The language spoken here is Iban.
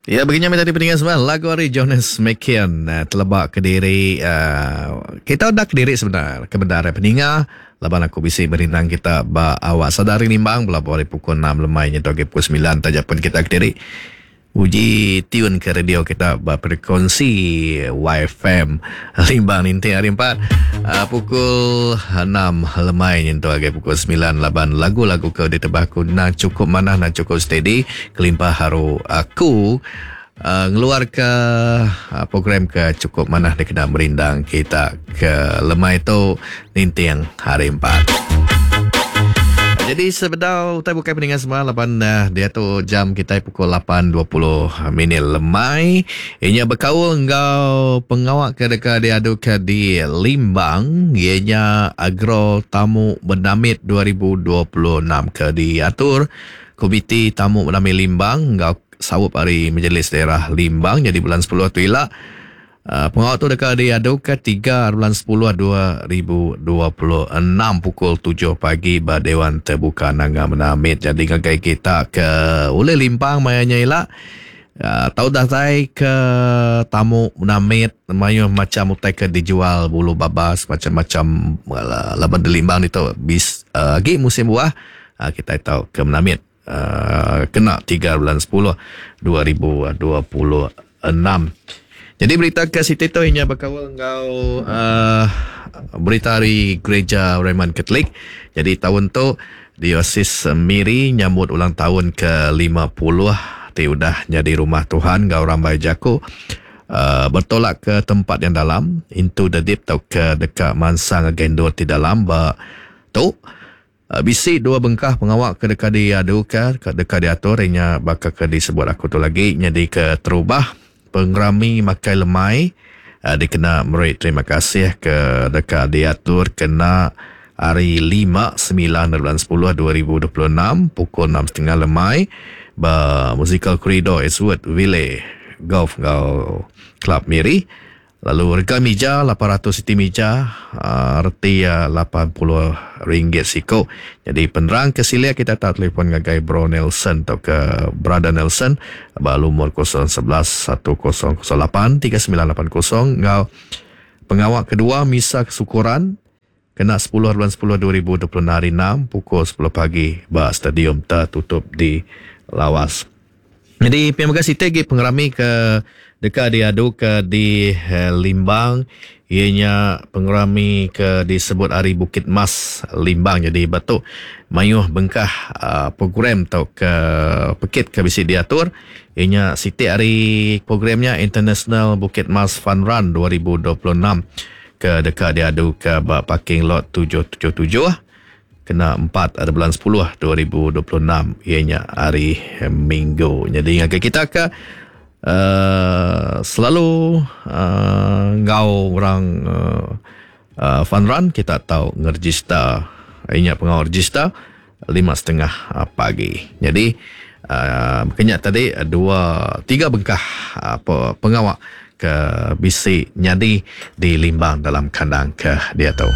Ya begini meh tadi peninga semua lagu ari Jonas Mekian eh, teleba kediri uh, kita udah kediri sebenar ke bendar eh, peninga laban aku bisi merindang kita ba awak sadari nimbang belabuh ari pukul 6 lemai nyentuk agi pukul 9 taja pun kita kediri Uji tune ke radio kita ba frekuensi YFM Limbang ninting hari empat uh, pukul 6 lemai nyentuk agai pukul 9 laban lagu-lagu ke ditebah aku nang cukup manah nang cukup steady kelimpah haru aku uh, ngeluar ke uh, program ke cukup manah dikena merindang kita ke lemai tu ninting hari empat. Jadi sebedau utai bukai peninga semua laban uh, diatu jam kitai pukul 8.20 minit lemai. Inya bekaul enggau pengawa ke deka diaduka di Limbang ianya Agro Tamu Benamit 2026 ke diatur Komiti Tamu Benamit Limbang enggau saup ari Majelis Daerah Limbang jadi bulan 10 tu ila. Pengawa tu deka diaduka tiga bulan sepuluh 2026 pukul tujuh pagi ba Dewan Terbuka Nanga Menamit. Jadi ngagai kita ke ulih limpang maya nya ila tau datai ke tamu Menamit mayuh macham utai ke dijual bulu babas macam-macam laban dilimbang ditu bis agi musim buah kitai tau ke Menamit kena tiga bulan sepuluh 2026. Jadi berita ke siti tu inya bekaul enggau uh, berita ari Gereja Roman Katolik. Jadi taun tu Diosis Miri nyambut ulang tahun ke 50 ti udah nyadi rumah Tuhan enggau rambai jaku uh, bertolak ke tempat yang dalam into the deep tauka deka mansang ngagai endur ti dalam ba tu. Bisi dua bengkah pengawa ke deka diaduka, ke deka diatur iya nya baka ke disebut aku tu lagi nyadika terubah pengerami makai lemai dikena meri terima kasih ke deka diatur kena hari lima semilan bulan sepuluh 2026 pukul enam setengah lemai ba Musical Corridor Eastwood Ville Golf enggau Club Miri. Lalu rega mija 800 siti mija reti iya RM80 siku. Nyadi penerang ke silik kita tau telefon ngagai Bro Nelson tauka Brother Nelson ba lumur 011 1008 3980 enggau pengawa kedua misa kesyukuran kena sepuluh bulan sepuluh 2026 hari enam pukul sepuluh pagi ba Stadium Tertutup di Lawas. Nyadi pia mega siti agi pengerami ke deka diaduka di Limbang iya nya pengerami ke disebut Hari Bukit Mas Limbang. Nyadi ba tu mayuh bengkah program tauka pekit ke bisi diatur iya nya siti ari program nya International Bukit Mas Fun Run 2026 ke deka diaduka ba parking lot 777. Kena empat ari bulan sepuluh 2026 iya nya hari Minggu. Nyadi ngagai kita ke uhh selalu uhh enggau orang uhh fun run kita tau ngerejista iya nya pengawa rejista lima setengah pagi. Nyadi uhh baka nya tadi dua tiga bengkah pengawa ke bisi nyadi di Limbang dalam kandang ke diatu.